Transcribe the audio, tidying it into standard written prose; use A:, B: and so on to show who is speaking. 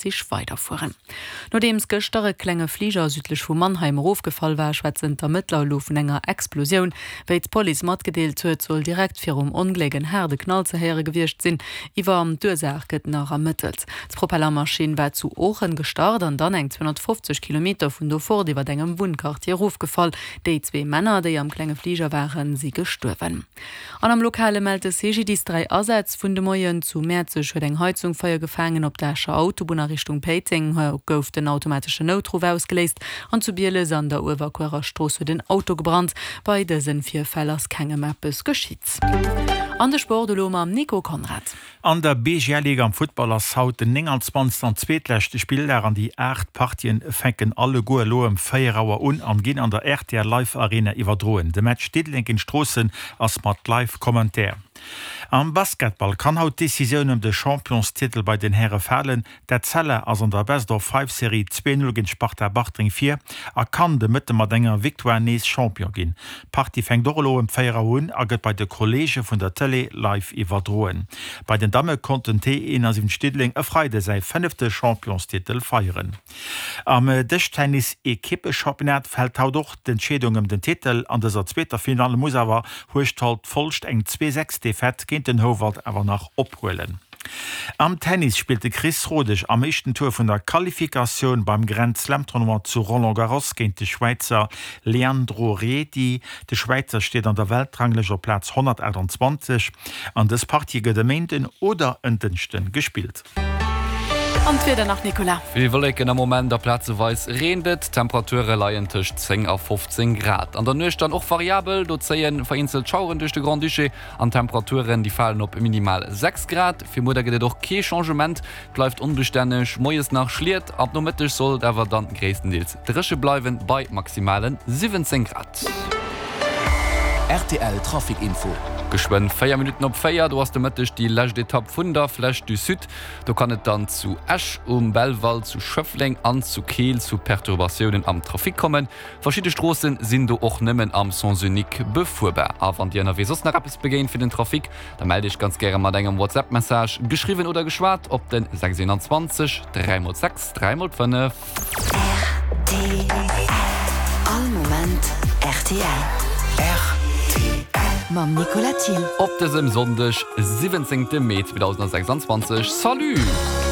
A: Zich weiderfueren. Nodeems gëschter e klenge Fliger südlech vu Mannheim erofgefall war, schwätzen d'Ermëttler elo vun enger Explosioun. Wéi d'Police matgedeelt huet, soll direkt virum Ongléck en haarde Knall ze héiere gewiescht sinn. Iwwer d'Ursaach gëtt nach ermëttelt. D'Propellermaschinn war zu Oochen gestart an dann eng 250 Kilometer vun do fort iwwer engem Wunnquartier erofgefall. Déi zwee Männer, déi am klenge Fliger waren, si gestuerwen. An am Lokale mellt de CGDIS 3 Asätz vun de Moien. Zu Mäerzeg huet eng Heizung Feier gefaangen, op der Escher Autobunn a Richtung Péiteng gouf den automateschen Noutruff ausgeléist an zu Bieles an der Uewerkuerer Strooss huet en Auto gebrannt. Bei dësen Virfäll ass kengem eppes geschitt. An de Sport elo mam Nico Conrad.
B: An der BGL-Ligue am Futtball ass haut den 29. an zweetleschte Spilldag an déi 8 Partien fänken alleguer elo ëm 4 Auer un an ginn an der rtl Live Arena iwwerdroen. De Match Diddeleng géint Stroossen ass mat Live Commentaire. Am Basketball kann haut d'Decisioun ëm de Championstitel bei den Häre falen. D'Etzella ass an der Best-of-Five-Serie 2, 0 géint Sparta Bartreng vir a kann de Mëtte mat enger Victoire nees Champion ginn. D'Partie fänkt och elo ëm 4 Auer un a gëtt bei de Kolleege vun der Tëlee live iwwerdroen. Bei den Damme konnt den T71 Diddeleng e Freide säi fënnefte Championstitel feieren. Am Dëschtennis-Ekippechampionnat fält haut och d'Entscheedung ëm den Titel. An dëser zweeter Finale muss awer Hueschtert Folscht eng 2, 6 Defaite géint den Houwald awer nach ophuelen. Am Tennis spillt de Chris Rodesch am éischten Tour vun der Qualifikatioun beim Grand Slam Tournoi zu Roland Garros géint de Schwäizer Leandro Riedi. De Schwäizer steet an der Weltranglëscht op Plaz 128 an dës Partie gëtt e Méinden oder en Dënschde gespillt.
A: An d'Wieder nach, Nicolas.
C: Vill Wolleken am Moment a plazeweis reent et. D'Temperature leien tëscht 10 a 15 Grad. An der Nuecht dann och variabel, do zéie vereenzelt Schaueren duerch de Grand-Duché. An d'Temperaturen, déi falen op minimal 6 Grad. Fir muer da gëtt et och kee Changement, et bleift onbestänneg, moies nach Schliet, ab Nomëtteg soll et awer dann gréisstendeels dréche bleiwen, bei maximale 17 Grad.
D: Rtl Trafic Info.
C: Geschwënn 4 Minutten op 4, do ass de Mëtteg déi lescht Etapp vun der Flèche du Sud. Do kann et dann zu Esch um Belval, zu Schëffleng an zu Keel zu Perturbatiounen am Trafic kommen. Verschidde Stroossen sinn do och nëmmen am Sens unique befuerbar. A wann dir ënnerwee soss nach eppes begéint fir den Trafic, da mellt iech ganz gäre mat engem WhatsApp Message, geschriwwen oder geschwat, op den 621 3 x 6 3 x 5.
E: Rtl. All Moment rtl.
D: Rtl.
E: Mam Nicolas Thill.
C: Op dësem Sonndeg, 17 Mee 2026. Salut!